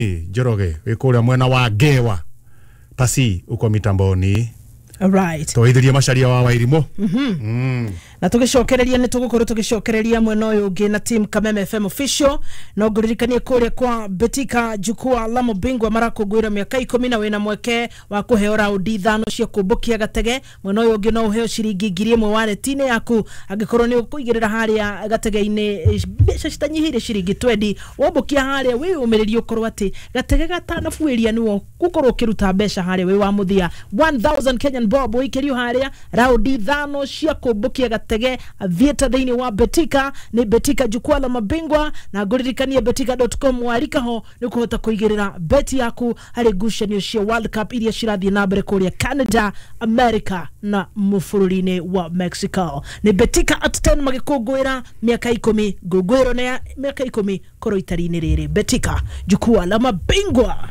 Njoroge wĩ kũrĩa mwena wa Ngewa pasi uko mitamboni. Right. Twaithirie macaria wa Wairimu. Na tugicokereria ni tugukorwo tugicokereria mwena uyu ungi na team Kameme FM official no nguririkanie kuria kwa Betika jukwaa la mabingwa marakũngũĩra mĩaka 10 na wĩna mweke wa kũheo raundi 5 cia kũmbũkia gatege. Mwena uyu ungi no ũheo ciringi 1000 wallet-inĩ yaku angĩkorwo nĩ ũkũigĩrĩra harĩa gatege-inĩ mbeca citanyihĩire ciringi 20 wombũkia harĩa wĩyũmĩrĩrie ũkorwo atĩ gatege gatanabuĩria nĩwo gũkorwo ũkĩruta mbeca harĩa wĩ wa mũthia 1000 Kenyan bob ũikĩrio harĩa raundi 5 cia kũmbũkia gatege avieta thĩinĩ wa Betika. Nĩ Betika jukwaa la mabingwa na ngũririkanie betika.com warika ho nĩ ũkũhota kũigĩrĩra beti yaku harĩ ngucanio cia World Cup iria cirathiĩ na mbere kũrĩa Canada, America na mũbũrũri-inĩ wa Mexico. Nĩ Betika at 10 magĩkũngũĩra mĩaka 10, ngũngũĩro nĩ ya mĩaka 10 korwo itari-inĩ rĩrĩ. Betika jukwaa la mabingwa,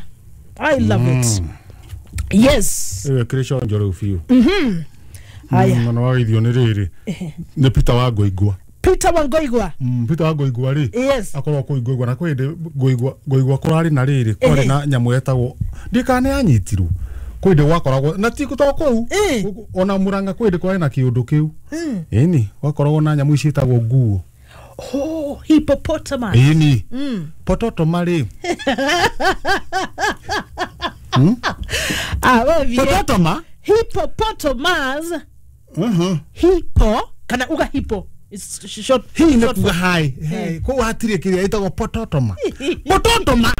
I love it. Yes. Ĩyo kĩrĩ conjo rĩu biũ. Haya. Na wageithio nĩ rĩrĩ nĩ Peter wa Ngoingwa. Peter Wangoigwa. Peter wa Ngoingwa rĩ, Yes. akorwo kũu Ngoingwa na kwĩ hĩndĩ Ngoingwa kũrarĩ na rĩrĩ kwarĩ na nyamũ yetagwo ndikana yanyitirwo kwĩ hĩndĩ gwakoragwo na ti to kũu ona Murang'a kwĩ hĩndĩ kwarĩ na kĩũndũ kĩu ĩni gwakoragwo na nyamũ ici ciĩtagwo nguo. Oh, hippopotamus. Ĩni pototoma rĩ. Ah, wewe vie. Pototoma. Hippopotamus. Hippo kana uga hippo. It's short. Hii nĩ Short kuga hai kũu hatirĩ kĩrĩa ĩtagwo pototoma. Pototoma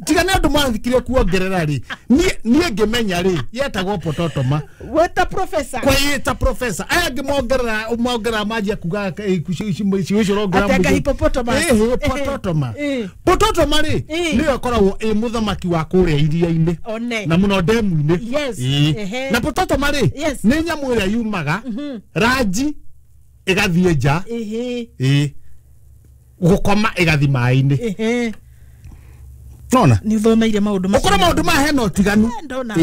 tiga nĩ andũ mathikire kuongerera rĩ, niĩ ngĩmenya rĩ yetagwo pototoma. Weta professor. Kwa ĩta professor aya angĩ mongerera mongerera manjia kuga cigo icio ũrongerera. Atĩ anga hippopotamus. Hippopotamus. Pototoma rĩ nĩyo ĩkoragwo ĩ mũthamaki wa kũrĩa iria-inĩ One. na mũno ndemu-inĩ. Yes. Na pototoma rĩ nĩ nyamũ ĩrĩa yumaga ranji ĩgathiĩ nja. Gũkoma ĩgathi maĩ-inĩ. Nona Nĩ ũthomeire maũndũ macio. ũkorwo maũndũ maya hena ũtiganu. Ndona.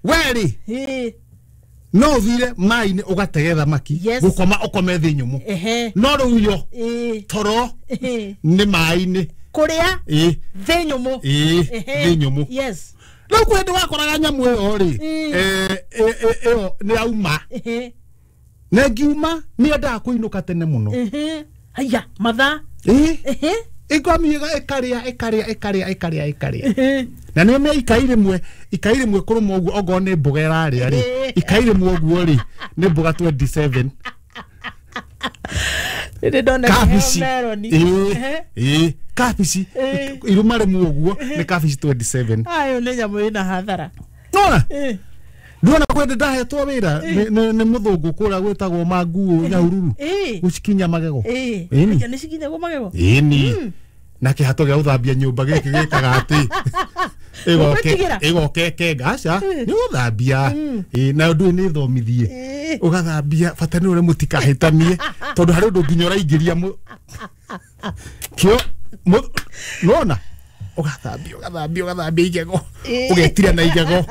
We rĩ no ũthire maĩ-inĩ ũgatege thamaki gũkoma ũkome thĩ nyũmũ no rĩu yo toro nĩ maĩ-inĩ. Kũrĩa thĩ nyũmũ. Thĩ nyũmũ. Yes. Rĩu kwĩ hĩndĩ wakoraga nyamũ ĩyo rĩ ĩyo nĩ yauma na ĩngiuma nĩ yendaga kũinũka tene mũno. Haya mathaa. Ĩkwamiga ĩkarĩa ĩkarĩa ĩkarĩa ĩkarĩa ĩkarĩa na nĩ me ikai rĩmwe kũrũma ũguo ongorwo nĩ mboga ĩrarĩa rĩ ikai rĩmwe ũguo rĩ nĩ mboga 27. Nĩ ndona kabici meroni. Kabici irũma rĩmwe ũguo nĩ kabici 27. Ayo nĩ nyamũ ĩna hathara. Nona ndona kwenda ndahetwo wĩra nĩ mũthũngũ kũrĩa gwĩtagwo manguo Nyahururu gũcikinya magego. Ĩni. Nĩ cikinyagwo magego. Ĩni na kĩhato gĩa gũthambia nyũmba gĩkĩ gĩkaga atĩ Ũgwĩtigĩra? ĩgoke kenga aca nĩ gũthambia. Nayo ndũĩ nĩ thomithie ũgathambia bata nĩ ũrĩa mũtikahĩtanie tondũ harĩ ũndũ nginya ũraingĩria kĩo nona ũgathambia ũgathambia ũgathambia igego ũgetira na igego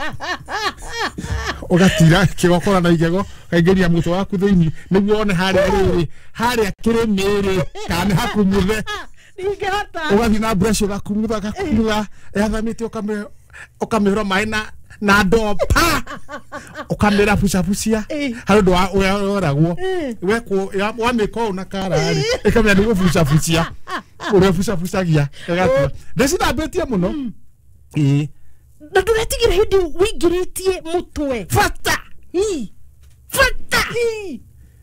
ũgatira kĩgokora na igego ũkaingĩria mũtwe waku thĩinĩ nĩguo wone harĩa rĩrĩ harĩa kĩrĩmĩrĩ kana nĩ hakumuthe. Ndingĩhota. Ũgathiĩ na brush ũgakumutha ũgakumutha yathamĩte ũkamĩhũra maĩ na ndoo pa ũkamĩra bucabucia harĩ ũndũ ũrĩa wekwo wamĩka ũũ na kara rĩ ĩkamenya nĩ gũbucabucia ũrĩa bucabucagia ĩgatua ndĩcithambĩtie mũno. Na ndũretigĩra hĩndĩ wĩingĩrĩtie mũtwe. Bata bata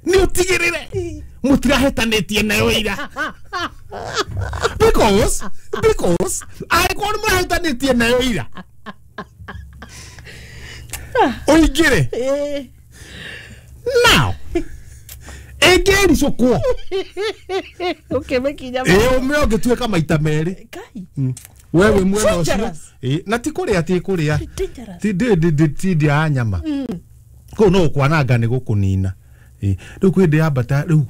nĩ ũtigĩrĩre mũtirahĩtanĩtie nayo ira because angĩkorwo nĩ mũrahĩtanĩtie nayo ira ũingĩre now ĩngĩricũkwo ũkĩmĩkinya ũme ũngĩtuĩka maita merĩ we wĩ mwena ũcio na ti kũrĩa ti kũrĩa ti ndĩa nyama kũu no gũkwananga nĩ gũkũnina. Rĩu kwĩ hĩndĩ yambata rĩu.